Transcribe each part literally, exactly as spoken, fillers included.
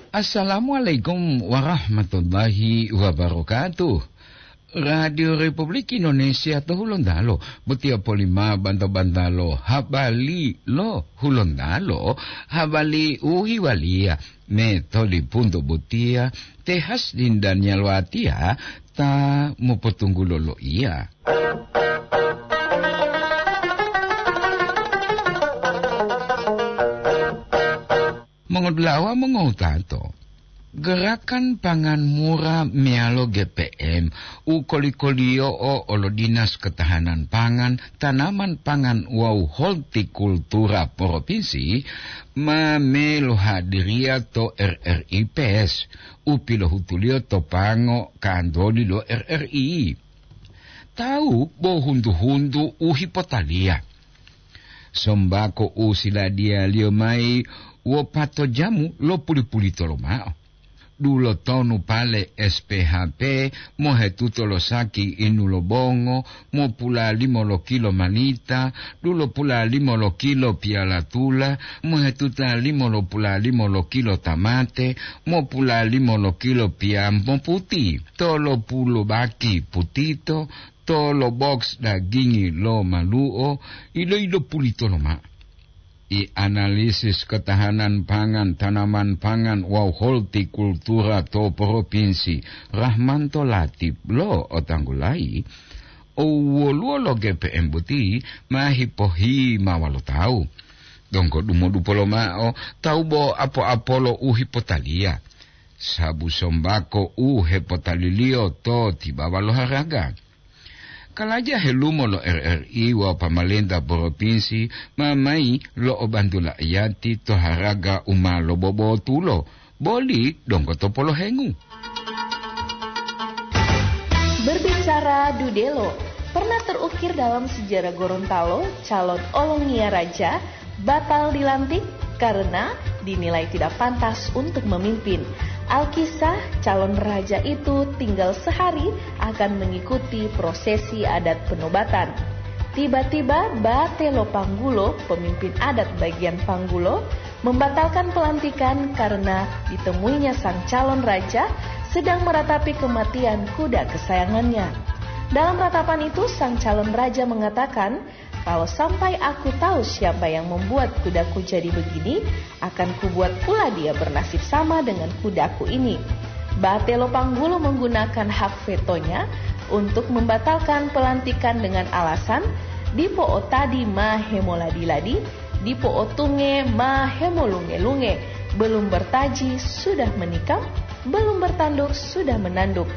Assalamualaikum warahmatullahi wabarakatuh. Radio Republik Indonesia to Hulontalo, botiya polima banta-bantalo habali lo Hulontalo, habali u hiwaliya me to lipunto botiya, te Hasdin Daniel Watiya ta mopotunggulo loiya. Mongodulawa mongowutato, gerakan pangan mura meyalo G P M u koli-koliyo'o olo Dinas Ketahanan Pangan, Tanaman Pangan wawu Hortikultura Provinsi ma melohadiriya to R R I Pers u pilohutuliyo to pango kantoli lo R R I. Tawu bo huntu-huntu u hipotaliya. Sombako u siladiyaliyo mayi wopato jamu lo puli-pulito lomao. Dulotonu pale S P H P mohetuto lo saki inu lo bongo, mopulalimo lo kilo malita, dulopulalimo lo kilo piyalatula, mohetutalimo lo pulalimo lo kilo tamate, mopulalimo lo kilo piyampo puti, tolopulu baki putito, tolo boks dagingi lo maluo, ilo-ilo pulito lomao. I analisis ketahanan pangan, tanaman pangan wawu hortikultura to Propinsi Rahmanto Latip lo otanggulayi, owoluwo lo G P M boti ma hipohimawa lo tawu. Donggo dumodupo lomao tawu bo apo-apolo u hipotaliya, sabu sombako u hepotaliliyo to tibawa lo haraga. Kalaja helumo lo R R I wawu pamalenta propinsi ma mayi lo'obantu la'iyati to haraga u ma lobobotulo, boli donggo to polohengu. Berbicara dudelo, pernah terukir dalam sejarah Gorontalo, calon olongiya raja batal dilantik karena dinilai tidak pantas untuk memimpin. Alkisah, calon raja itu tinggal sehari akan mengikuti prosesi adat penobatan. Tiba-tiba, Bate lo Panggulo, pemimpin adat bagian Panggulo, membatalkan pelantikan karena ditemuinya sang calon raja sedang meratapi kematian kuda kesayangannya. Dalam ratapan itu, sang calon raja mengatakan, "Kalau sampai aku tahu siapa yang membuat kudaku jadi begini, akan kubuat pula dia bernasib sama dengan kudaku ini." Bate lo Panggulo menggunakan hak vetonya untuk membatalkan pelantikan dengan alasan, "Dipo o tadi ma hemoladi-ladi, dipo o tunge ma hemolunge-lunge, belum bertaji sudah menikam, belum bertanduk sudah menanduk."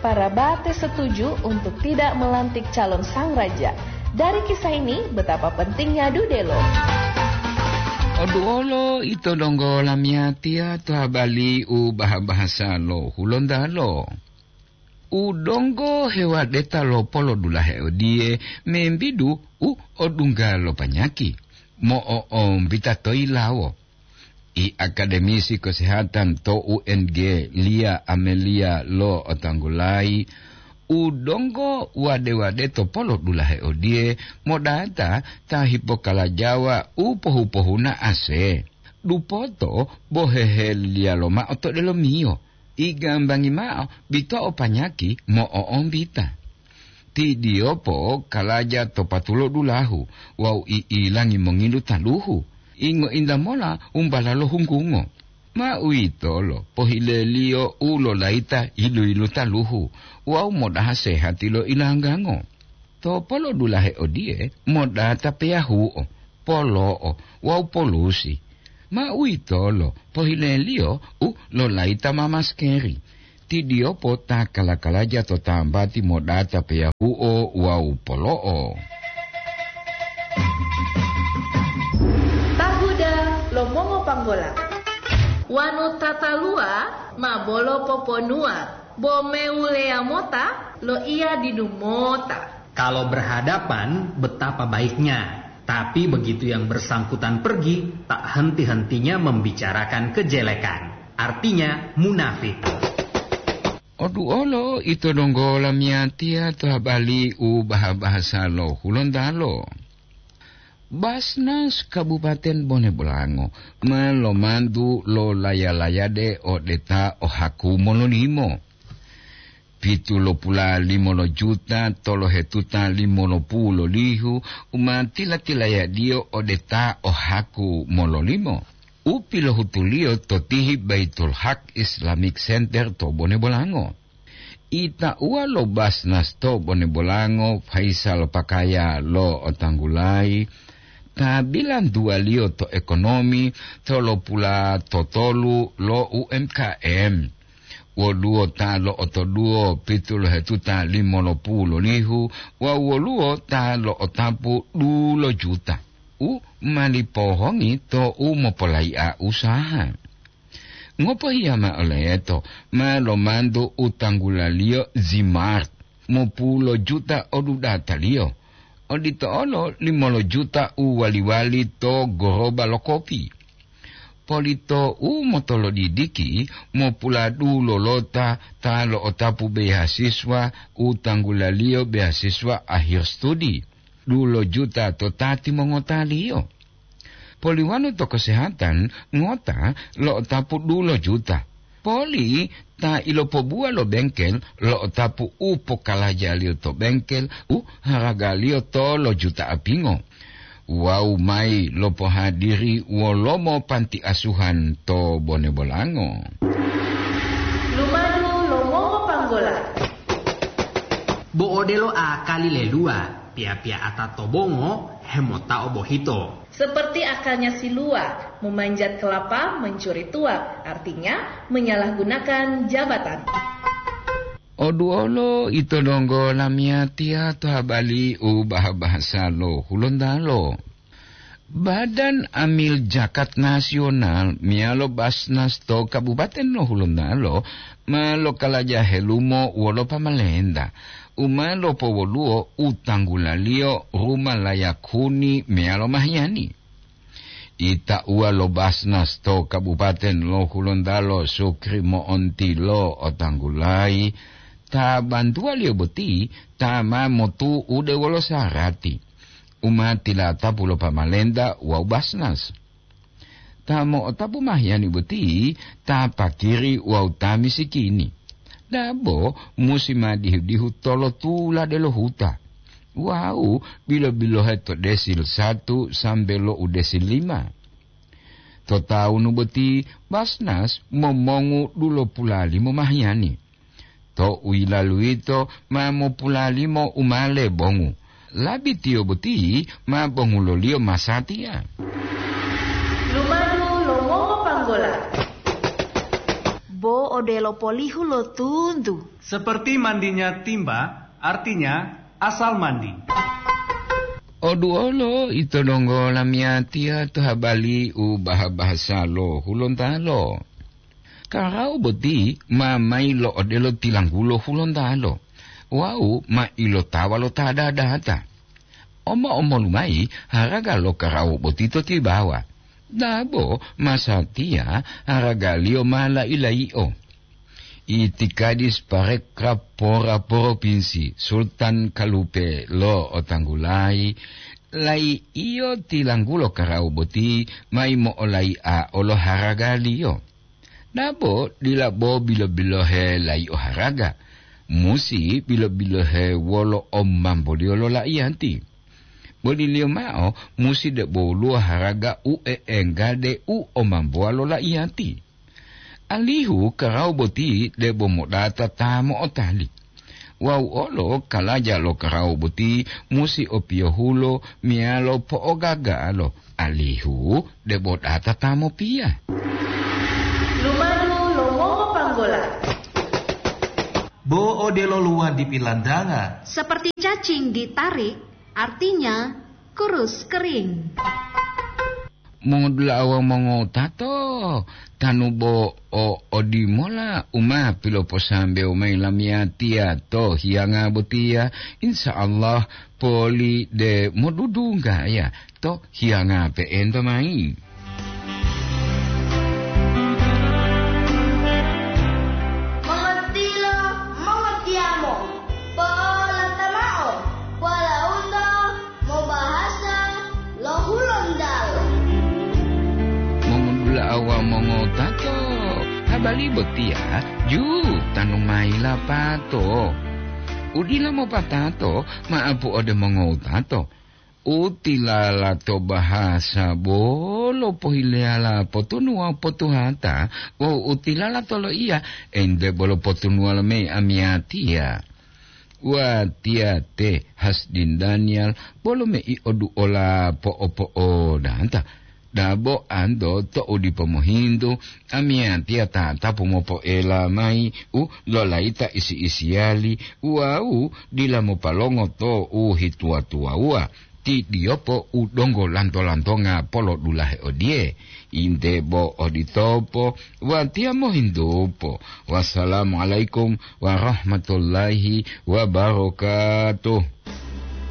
Para Bate setuju untuk tidak melantik calon sang raja. Dari kisah ini, betapa pentingnya dudelo. Oduolo ito donggo lamiyatiya to habali u baha-bahasa lo Hulontalo. U donggo hewadeta lo polodulahe odiye membidu u odungga lo panyaki mo'o'ombita to yilawo. I akademisi kesehatan to U N G, Lia Amelia lo otanggulayi, u donggo wade-wade to polodulahe odiye modata ta hipokalajawa u pohu-pohuna ase. Dupoto bo heheliya lomao to delomiyo, igambangi mao bito'o panyaki mo'o'ombita. Ti Diyopo kalaja to patulo dulahu wawu i'ilangi mongilu taluhu, ingo-inta mola umbala lo hunggungo. Ma uwitolo pohileliyo u lolayita yilu-yilu taluhu wawu modaha sehati lo ilanggango. To polodulahe odiye modata peyahuo, polo'o wawu polusi. Ma uwitolo pohileliyo u lolayita ma maskeri. Ti Diyopo ta kala-kalaja to tambati modata peyahuo wawu polo'o. Tahuda lo mongopanggola. Wanu tataluwa ma bolo poponuwa, bo mewuleya mota loiya didu mota. Kalau berhadapan, betapa baiknya. Tapi begitu yang bersangkutan pergi, tak henti-hentinya membicarakan kejelekan. Artinya, munafik. Oduolo ito donggo lamiyatiya to habali u baha-bahasa lo Hulontalo. Basnas Kabupaten Bone Bolango ma lomantu lo laya-layade ode ta o haku mololimo. Pitulopula limo lo juta tolohetuta limolopulu lo lihu u ma tila-tilayadiyo ode ta o haku mololimo, u pilohutuliyo to tihi Baitul Haq Islamic Center to Bone Bolango. Itauwa lo Basnas to Bone Bolango, Faisal Pakaya lo Otanggulayi, ta bilantuwaliyo to ekonomi tolopula totolu lo U M K M. Woluwo ta lo'otoduwo pitolohetuta limolopulu lo lihu wawu woluwo ta lo'otapu dulo juta u mali pohongi to u mopolai'a usaha. Ngopohiya mao leto ma lomantu u tanggulaliyo Zimart, mopulo juta odudataliyo, odito olo limolo juta u wali-wali to goroba lo kopi. Polito u motolodidiki, mopuladulolota ta lo'otapu beasiswa u tanggulaliyo beasiswa akhir studi, dulo juta to ta timongotaliyo. Poliwanu to kesehatan ngota lo'otapu dulo juta. Poli ta ilopobuwa lo bengkel lo'otapu u pokalajaliyo to bengkel u haragaliyo tolo juta apingo. Wawu mayi lopohadiri wolomo panti asuhan to Bone Bolango. Lumadu lo mongopanggola. Bo odelo akali leluwa, piya-piya'ata to bongo hemotao bohito. Seperti akalnya si Luwa, memanjat kelapa, mencuri tuak, artinya menyalahgunakan jabatan. Oduolo ito donggo lamiyatiya to habali u baha-bahasa lo Hulontalo. Badan Amil Jakat Nasional meyalo Basnas to Kabupaten lo Hulontalo ma lokalaja helumo wolo pamalenta u ma lopowoluwo u tanggulaliyo ruma layak huni meyalo mahiyani. Itauwa lo Basnas to Kabupaten lo Hulontalo Sukri Mo'onti lo otanggulayi, ta bantuwaliyo boti ta ma motu'ude wolo sarati u ma tilatapu lo pamalenta wawu Basnas. Ta mo'otapu mahiyani boti ta pakiri wawu ta misikini. Dabo musi ma dihu-dihu tolotulade lo huta. Wawu bilo-bilohe to desil satu sambe lo u desil lima. To tawunu boti Basnas momongu dulopulalimo mahiyani. To u yilalu yito ma mopulalimo u ma lebongu. Labitiyo boti ma bonguloliyo masatiya. Lumadu lo mongopanggola. Bo odelo polihu lo tuntu. Seperti mandinya timba, artinya asal mandi. Oduolo ito donggo lamiyatiya to habali u baha-bahasa lo Hulontalo. Karawu boti ma mayi lo odelo tilanggulo Hulontalo wawu ma ilotawa lo ta dadata. Omo-omolu mayi haraga lo karawu boti to tibawa. Dabo masatiya haragaliyo ma lai-layi'o. Itikadis parekraf pora propinsi Sultan Kalupe lo otanggulayi, lai iyo tilanggulo karawu boti mayi mo'olai'a olo haragaliyo. Dabo dila bo bilo-bilohe lai o haraga, musi bilo-bilohe wolo omamboliyo lo laiyati. Boliliyo mao musi debo woluwo haraga u e'enggade u omambowa lo laiyati. Alihu karawu boti debo modata ta mo'otali. Wawu olo kalaja lo karawu boti musi opiyohulo meyalo po'ogagalo, alihu debo data ta mopiya. Lumadu lo mongopanggola. Bo odelo luwadi pilantanga. Seperti cacing ditarik, artinya kurus kering. Mongodula'a wawu mongotato, tanu bo o odimola u ma piloposambewo mayi lamiyatiya to hiyanga botiya, insya Allah poli de modudunggaya to hiyanga pe'enta mayi. Mongotilo, mongotiyamo, po'olata mao, polaundo mobahasa lo Bali botiya ju tanu mayi lapato. Udila mopatato ma'apu ode mongowutato. U tilala to bahasa bolo pohileyala potunuwa potuhata, wawu u tilala to loiya ente bolo potunuwa lomeyi amiyatiya. Watiya te Hasdin Daniel bolo mei oduola po'opo'odanta. Dabo anto to'u dipo mohintu, amiyatiya tatapu mopoela mayi u lolayita isi-isiyali wawu dila mopalongo to u hituwa-tuwawuwa, ti diyopo u donggo lanto-lantonga polodulahe odiye. Inte bo oditopo, watiya mohintupo. Wassalamualaikum warahmatullahi wabarakatuh.